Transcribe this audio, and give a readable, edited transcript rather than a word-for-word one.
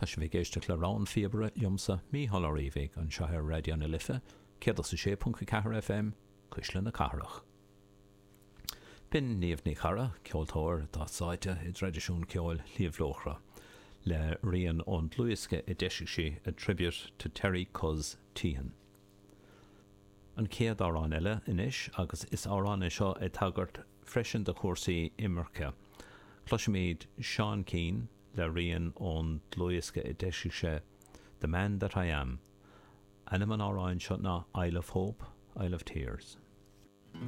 Tá sibh ag éisteacht le Rogha an Phíobaire liomsa, Mícheál Ó Riabhaigh, anseo ar Raidió na Life, 106.4 FM, Cuisle na Cathrach. B'in Niamh Ní Charra, ceoltóir atá sáite i dtraidisiún ceoil Shliabh Luachra, le rian ón dlúthdhiosca a d'eisigh sí, A Tribute to Terry Cuz Teehan. An chéad amhrán eile anois, agus is amhrán é seo ag tagairt freisin do chúrsaí imirce. Cloisfimid Seán Keane le rian ón dlúthdhiosca a d'eisigh sé, The Man That I Am. Ainm an amhráin seo ná Isle of Hope, Isle of Tears.